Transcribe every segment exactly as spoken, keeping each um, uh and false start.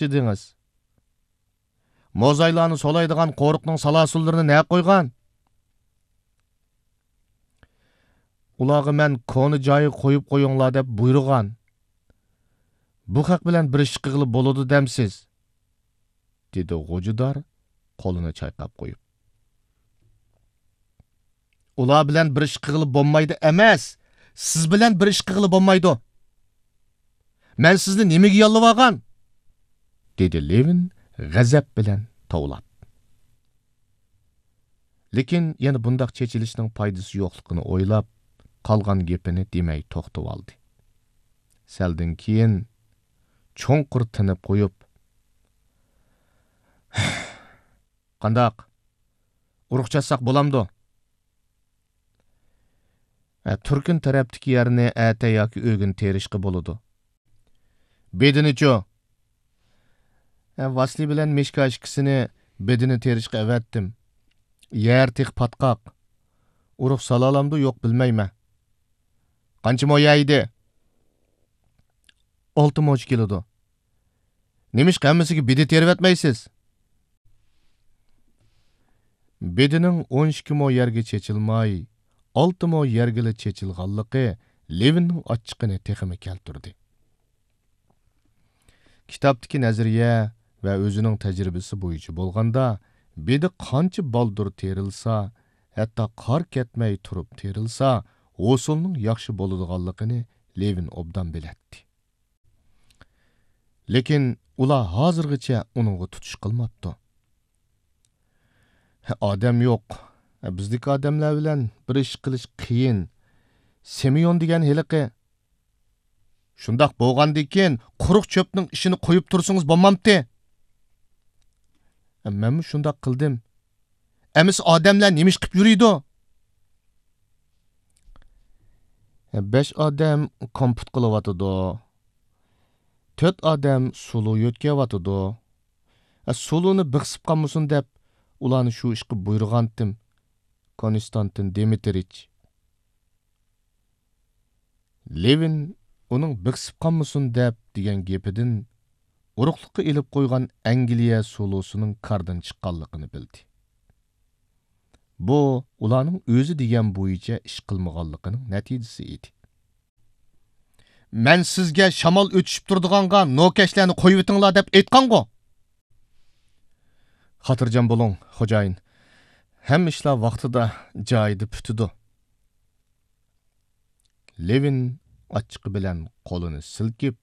دېدىڭىز؟ موزايلارنى سولايدىغان قورۇقنىڭ سالاسۇنلىرىنى نەگە قويغان؟ ئۇلارغا مەن كونا جايىغا قويۇپ قويۇڭلار دەپ بۇيرۇغان. بۇ خەق بىلەن بىر ئىش قىلغىلى بولىدۇ دەمسىز؟ دېدى غوجىدار قولىنى چايقاپ قويۇپ. ئۇلار بىلەن بىر ئىش قىلغىلى بولمايدۇ ئەمەس، سىز بىلەن بىر ئىش قىلغىلى بولمايدۇ. مەن سىزنى نېمىگە ياللىۋالغان؟ دېدى لېۋىن غەزەپ بىلەن توۋلاپ. لېكىن يەنە بۇنداق چېچىلىشنىڭ پايدىسى يوقلۇقىنى ئويلاپ، قالغان گېپىنى دېمەي توختىۋالدى. سەلدىن كېيىن چوڭقۇر تىنىپ قويۇپ، قانداق؟ ئۇرۇق چاتساق بولامدۇ؟ ھە، تۈركۈن تەرەپتىكى يەرنى ئەتە ياكى ئۆگۈن تېرىشقا بولىدۇ. بېدىنىچۇ؟ ھە، ۋاسلىي بىلەن مىشكا ئىككىسىنى بېدىنى تېرىشقا ئەۋەتتىم. يەر تېخى پاتقاق. ئۇرۇق سالالامدۇ يوق بىلمەيمەن. قانچە مو يەيدۇ؟ ئالتە موچە كېلىدۇ. نېمىشقا ھەممىسىگە بېدە تېرىۋەتمەيسىز؟ بېدىنىڭ ئون ئىككى مو يەرگە چېچىلماي، ئالتە مو يەرگىلا چېچىلغانلىقى لېۋىننىڭ ئاچچىقىنى تېخىمۇ كەلتۈردى. كىتابتىكى نەزەرىيە ۋە ئۆزىنىڭ تەجرىبىسى بويىچە بولغاندا، بېدە قانچە بالدۇر تېرىلسا، ھەتتا قار كەتمەي تۇرۇپ تېرىلسا، ھوسۇلنىڭ ياخشى بولىدىغانلىقىنى لېۋىن ئوبدان بىلەتتى. لېكىن ئۇلار ھازىرغىچە ئۇنىڭغا تۇتۇش قىلماپتۇ. ئادەم يوق. بىزدىكى ئادەملەر بىلەن بىر ئىش قىلىش قىيىن. سىمېئون دېگەن ھېلىقى. شۇنداق بولغاندىكىن، قۇرۇق چۆپنىڭ ئىشىنى قويۇپ تۇرسىڭىز بولمامتى؟ مەنمۇ شۇنداق قىلدىم. ئەمىسە ئادەملەر نېمە ئىش قىپ يۈرىدۇ؟ بەش ئادەم كومپۇت قىلىۋاتىدۇ. تۆت ئادەم سۇلۇ يۆتكەۋاتىدۇ. سۇلۇنى بىخسىپ قالمىسۇن دەپ، ئۇلارنى شۇ ئىشقا بۇيرۇغانتىم، كونستانتىن دىمىترىچ. لېۋىن ئۇنىڭ بىخسىپ قالمىسۇن دەپ دېگەن گېپىدىن ئۇرۇقلۇققا ئېلىپ قويغان ئەنگلىيە سۇلۇسىنىڭ كاردىن چىققانلىقىنى بىلدى. بۇ ئۇلارنىڭ ئۆزى دېگەن بويىچە ئىش قىلمىغانلىقىنىڭ نەتىجىسى ئىدى. مەن سىزگە شامال ئۆتۈشۈپ تۇرىدىغانغا نوكەشلەرنى قويۇۋېتىڭلار دەپ ئېيتقانغۇ؟ خاتىرجەم بولۇڭ، خوجايىن. ھەممە ئىشلار ۋاقتىدا، جايىدا پۈتىدۇ. لېۋىن ئاچچىقى بىلەن قولىنى سىلكىپ،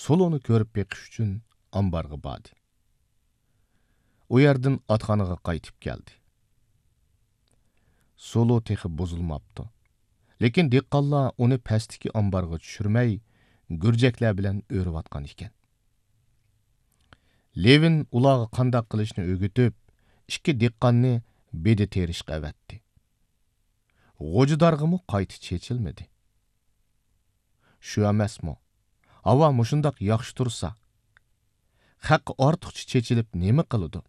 سۇلۇنى كۆرۈپ بېقىش ئۈچۈن ئامبارغا باردى. ئۇ يەردىن ئاتخانىغا قايتىپ كەلدى. سۇلۇ تېخى بۇزۇلماپتۇ. لېكىن دېھقانلار ئۇنى پەستىكى ئامبارغا چۈشۈرمەي، گۈرجەكلەر بىلەن ئۆرۈۋاتقان ئىكەن. لېۋىن ئۇلارغا قانداق قىلىشنى ئۆگىتىپ، ئىككى دېھقاننى بېدە تېرىشقا ئەۋەتتى. غوجىدارغىمۇ قايتا چېچىلمىدى. شۇ ئەمەسمۇ؟ ھاۋا مۇشۇنداق ياخشى تۇرسا، خەققە ئارتۇقچە چېچىلىپ نېمە قىلىدۇ؟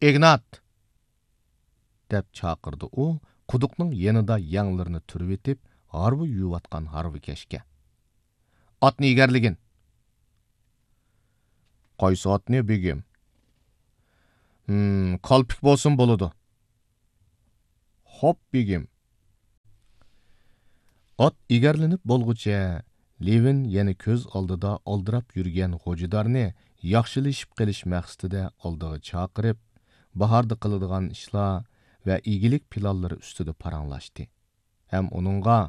ئىگنات! دەپ چاقىردى ئۇ، قۇدۇقنىڭ يېنىدا يەڭلىرىنى تۈرۈۋېتىپ، ھارۋا يۇيۇۋاتقان ھارۋىكەشكە. ئاتنى ئېگەرلىگىن! قايسى ئاتنى، بېگىم؟ ھىم، كالپۇك بولسۇن بولىدۇ. خوپ، بېگىم. ئات ئېگەرلىنىپ بولغۇچە، لېۋىن يەنە كۆز ئالدىدا ئالدىراپ يۈرگەن غوجىدارنى ياخشىلىشىپ قېلىش مەقسىتىدە ئالدىغا چاقىرىپ، باھاردا قىلىدىغان ئىشلار ۋە ئىگىلىك پىلانلىرى ئۈستىدە پاراڭلاشتى ھەم ئۇنىڭغا،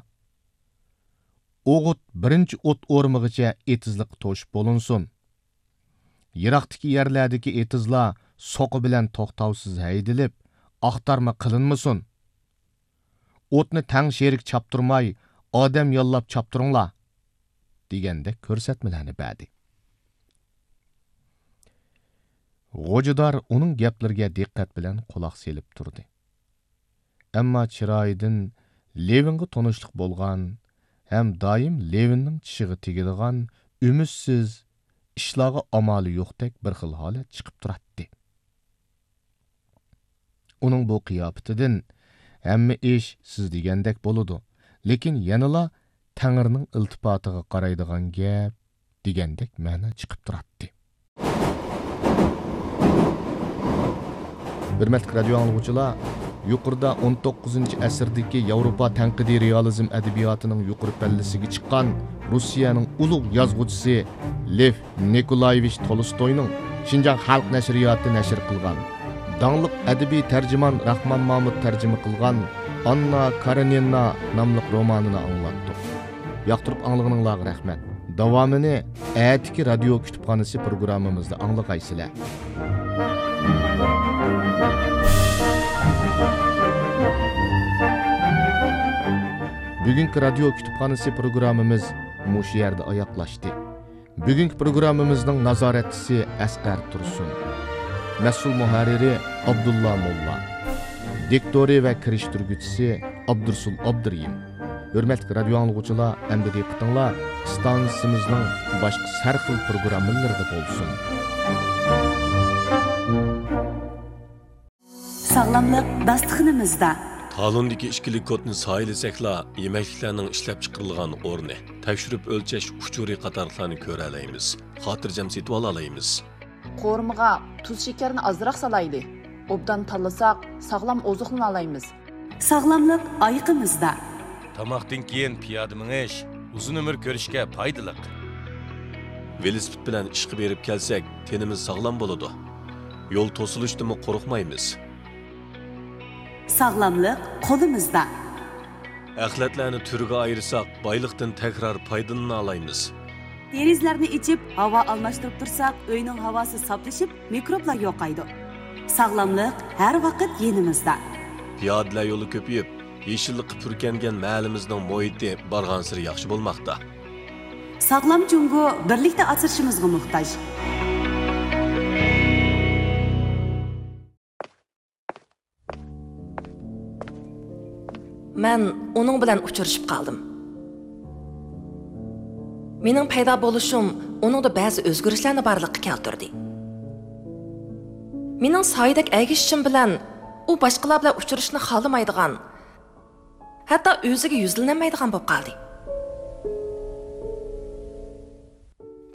ئوغۇت بىرىنچى ئوت ئورمىغىچە ئېتىزلىققا توشۇپ بولۇنسۇن. يىراقتىكى يەرلەردىكى ئېتىزلار سوقا بىلەن توختاۋسىز ھەيدىلىپ، ئاختارما قىلىنمىسۇن. ئوتنى تەڭ شېرىك چاپتۇرماي، ئادەم ياللاپ چاپتۇرۇڭلار، دېگەندەك كۆرسەتمىلەرنى بەردى. غوجىدار ئۇنىڭ گەپلىرىگە دىققەت بىلەن قۇلاق سېلىپ تۇردى. ئەمما چىرايىدىن لېۋىنغا تونۇشلۇق بولغان ھەم دائىم لېۋىننىڭ چىشىغا تېگىدىغان ئۈمىدسىز، ئىشلارغا ئامالى يوقتەك بىر خىل ھالەت چىقىپ تۇراتتى. ئۇنىڭ بۇ قىياپىتىدىن، ھەممە ئىش سىز دېگەندەك بولىدۇ، لېكىن يەنىلا تەڭرىنىڭ ئىلتىپاتىغا قارايدىغان گەپ، دېگەندەك مەنە چىقىپ تۇراتتى. ھۆرمەتلىك رادىيو ئاڭلىغۇچىلار، يۇقىرىدا ئون توققۇزىنچى ئەسىردىكى ياۋروپا تەنقىدىي رېئالىزم ئەدەبىياتىنىڭ يۇقىرى پەللىسىگە چىققان روسىيەنىڭ ئۇلۇغ يازغۇچىسى لېف نىكولايېۋىچ تولستوينىڭ شىنجاڭ خەلق نەشرىياتى نەشر قىلغان، داڭلىق ئەدەبىي تەرجىمان راخمان مامۇت تەرجىمە قىلغان ئاننا كارېنىنا ناملىق رومانىنى ئاڭلاتتۇق. ياقتۇرۇپ ئاڭلىغىنىڭلارغا رەھمەت. داۋامىنى ئەتىكى رادىيو كۇتۇپخانىسى پروگراممىمىزدا ئاڭلىغايسىلەر. بۈگۈنكى رادىيو كۇتۇپخانىسى پروگراممىمىز مۇشۇ يەردە ئاياغلاشتى. بۈگۈنكى پروگراممىمىزنىڭ نازارەتچىسى ئەسقەر تۇرسۇن. مەسئۇل مۇھەررىرى ئابدۇللا موللا. دىكتورى ۋە كىرىشتۈرگۈچىسى ئابدۇرسۇل ئابدۇرېھىم. ھۆرمەتلىك رادىيو ئاڭلىغۇچىلار، ئەمدى دىققىتىڭلار ئىستانسىمىزنىڭ باشقا ھەر خىل پروگراممىلىرىدا بولسۇن. ساغلاملىق داستىخىنىمىزدا. تالوندىكى ئىككىلىك كودنى سايلىسەكلا، يېمەكلىكلەرنىڭ ئىشلەپچىقىرىلغان ئورنى، تەكشۈرۈپ ئۆلچەش ئۇچۇرى قاتارلىقلارنى كۆرەلەيمىز، خاتىرجەم سېتىۋالالايمىز. قورۇمىغا تۇز شېكەرنى ئازراق سالايلى. ئوبدان تاللىساق، ساغلام ئوزۇقلىنالايمىز. ساغلاملىق ئايىقىمىزدا. تاماقتىن كېيىن پىيادە مېڭىش ئۇزۇن ئۆمۈر كۆرۈشكە پايدىلىق. ۋېلىسىپىت بىلەن ئىشقا بېرىپ كەلسەك، تېنىمىز ساغلام بولىدۇ. يول توسۇلۇشتىنمۇ قورقمايمىز. ساغلاملىق قولىمىزدا. ئەخلەتلەرنى تۈرگە ئايرىساق، بايلىقتىن تەكرار پايدىلىنالايمىز. دېرىزىلەرنى ئېچىپ، ھاۋا ئالماشتۇرۇپ تۇرساق، ئۆينىڭ ھاۋاسى ساپلىشىپ، مىكروبلار يوقايدۇ. ساغلاملىق ھەر ۋاقىت يېنىمىزدا. پىيادىلەر يولى كۆپىيىپ، يېشىللىققا پۈركەنگەن مەھەللىمىزنىڭ مۇھىتى بارغانسېرى ياخشى بولماقتا. ساغلام جۇڭگو بىرلىكتە ئاسرىشىمىزغا موھتاج. مەن ئۇنىڭ بىلەن ئۇچرىشىپ قالدىم. مېنىڭ پەيدا بولۇشۇم ئۇنىڭدا بەزى ئۆزگىرىشلەرنى بارلىققا كەلتۈردى. مېنىڭ سايىدەك ئەگىشىشىم بىلەن ئۇ باشقىلار بىلەن ئۇچرىشىشنى خالىمايدىغان، ھەتتا ئۆزىگە يۈزلىنەلمەيدىغان بولۇپ قالدى.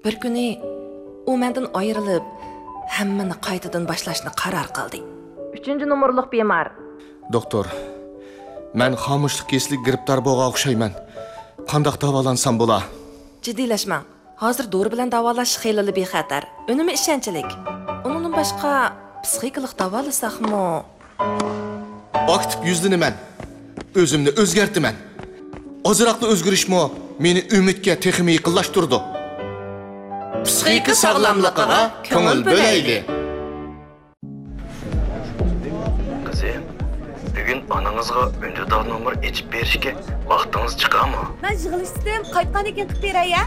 بىر كۈنى ئۇ مەندىن ئايرىلىپ، ھەممىنى قايتىدىن باشلاشنى قارار قىلدى. ئۈچىنچى نومۇرلۇق بىمار. دوختۇر، مەن خامۇشلۇق كېسىلىگە گىرىپتار بولغان ئوخشايمەن. قانداق داۋالانسام بولا؟ جىددىيلەشمەڭ. ھازىر دورا بىلەن داۋالاش خېلىلا بىخەتەر، ئۈنۈمى ئىشەنچلىك. ئۇنىڭدىن باشقا، پسىخىكىلىق داۋالىساقمۇ؟ ئاكتىپ يۈزلىنىمەن. ئۆزۈمنى ئۆزگەرتىمەن. ئازراقلا ئۆزگىرىشمۇ مېنى ئۈمىدكە تېخىمۇ يېقىنلاشتۇرىدۇ. پسىخىكا ساغلاملىقىغا كۆڭۈل بۆلەيلى. قىزىم، بۈگۈن ئانىڭىزغا ئۈندىدار نومۇر ئېچىپ بېرىشكە ۋاقتىڭىز چىقامۇ؟ مەن يىغلىشتىم، قايتقاندىن كېيىن قىلىپ بېرەي، ھە؟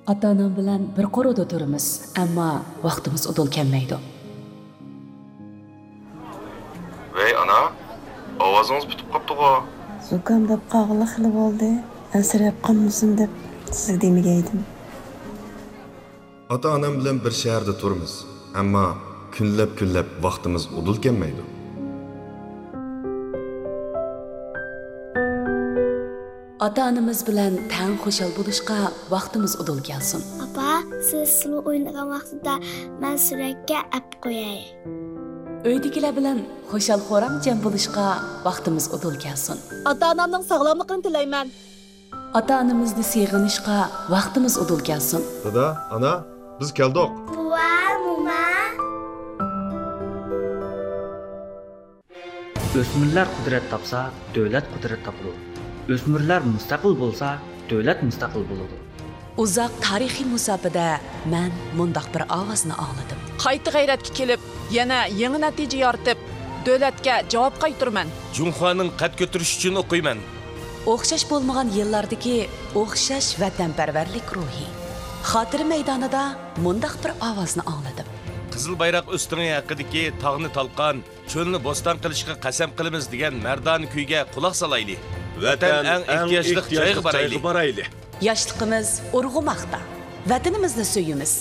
ئاتا-ئانام بىلەن بىر قورۇدا تۇرىمىز، ئەمما ۋاقتىمىز ئۇدۇل كەلمەيدۇ. ۋەي ئانا، ئاۋازىڭىز پۈتۈپ قاپتىغۇ؟ زۇكام بولۇپ قالغىلى خېلى بولدى. ئەنسىرەپ قالمىسۇن دەپ سىزگە دېمىگەيدىم. ئاتا-ئانام بىلەن بىر شەھەردە تۇرىمىز، ئەمما كۈنلەپ-كۈنلەپ ۋاقتىمىز ئۇدۇل كەلمەيدۇ. ئاتا-ئانىمىز بىلەن تەڭ خۇشال بولۇشقا ۋاقتىمىز ئۇدۇل كەلسۇن. ئاپا، سىز سۇلۇ ئوينىغان ۋاقتىدا مەن سۈرەتكە ئەپ قوياي. ئۆيدىكىلەر بىلەن خۇشال-خۇرام جەم بولۇشقا ۋاقتىمىز ئۇدۇل كەلسۇن. ئاتا-ئانامنىڭ ساغلاملىقىنى تىلەيمەن. ئاتا-ئانىمىزنى سېغىنىشقا ۋاقتىمىز ئۇدۇل كەلسۇن. دادا، ئانا، بىز كەلدۇق. بوۋا، موما. ئۆسمۈرلەر قۇدرەت تاپسا، دۆلەت قۇدرەت تاپىدۇ. ئۆسمۈرلەر مۇستەقىل بولسا، دۆلەت مۇستەقىل بولىدۇ. ئۇزاق تارىخىي مۇساپىدە مەن مۇنداق بىر ئاۋازنى ئاڭلىدىم. قايتا غەيرەتكە كېلىپ، يەنە يېڭى نەتىجە يارىتىپ، دۆلەتكە جاۋاب قايتۇرىمەن. جۇڭخۇانىڭ قەد كۆتۈرۈشى ئۈچۈن ئوقۇيمەن. ئوخشاش بولمىغان يىللاردىكى ئوخشاش ۋەتەنپەرۋەرلىك روھى. خاتىرە مەيدانىدا مۇنداق بىر ئاۋازنى ئاڭلىدىم. قىزىل بايراق ئۆستىڭى ھەققىدىكى تاغنى تالقان، چۆلنى بوستان قىلىشقا قەسەم قىلىمىز دېگەن مەردانە كۈيگە قۇلاق سالايلى. ۋەتەن ئەڭ ئېھتىياجلىق جايغا بارايلى. ياشلىقىمىز ئۇرغۇماقتا. ۋەتىنىمىزنى سۆيىمىز.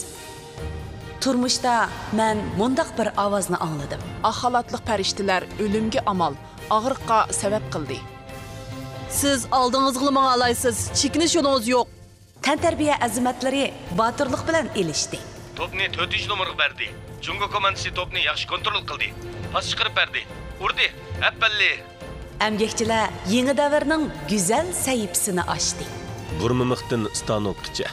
تۇرمۇشتا مەن مۇنداق بىر ئاۋازنى ئاڭلىدىم. ئاق خالاتلىق پەرىشتىلەر ئۆلۈمگە ئامال، ئاغرىققا سەۋەب قىلدى. سىز ئالدىڭىزغىلا ماڭالايسىز، چېكىنىش يولىڭىز يوق. تەنتەربىيە ئەزىمەتلىرى باتۇرلۇق بىلەن ئېلىشتى. توپنى تۆتىنچى نومۇرغا بەردى. جۇڭگو كوماندىسى توپنى ياخشى كونترول قىلدى. پاس چىقىرىپ بەردى. ئۇردى. ئەپەللى! ئەمگەكچىلەر يېڭى دەۋرنىڭ گۈزەل سەھىپىسىنى ئاچتى. بۇرمىمىختىن ستانوكقىچە،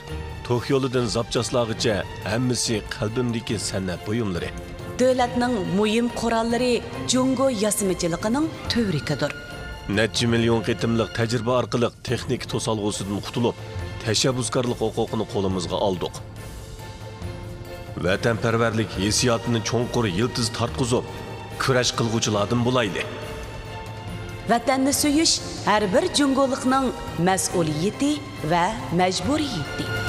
توك يولىدىن زاپچاسلارغىچە ھەممىسى قەلبىمدىكى سەنئەت بۇيۇملىرى. دۆلەتنىڭ مۇھىم قوراللىرى جۇڭگو ياسىمىچىلىقىنىڭ تۈۋرۈكىدۇر. نەچچە مىليون قېتىملىق تەجرىبە ئارقىلىق تېخنىكا توسالغۇسىدىن قۇتۇلۇپ، تەشەببۇسكارلىق ھوقۇقىنى قولىمىزغا ئالدۇق. ۋەتەنپەرۋەرلىك ھېسسىياتىنى چوڭقۇر يىلتىز تارتقۇزۇپ، كۈرەش قىلغۇچىلاردىن بولايلى. ۋەتەننى سۆيۈش ھەر بىر جۇڭگولۇقنىڭ مەسئۇلىيىتى ۋە مەجبۇرىيىتى.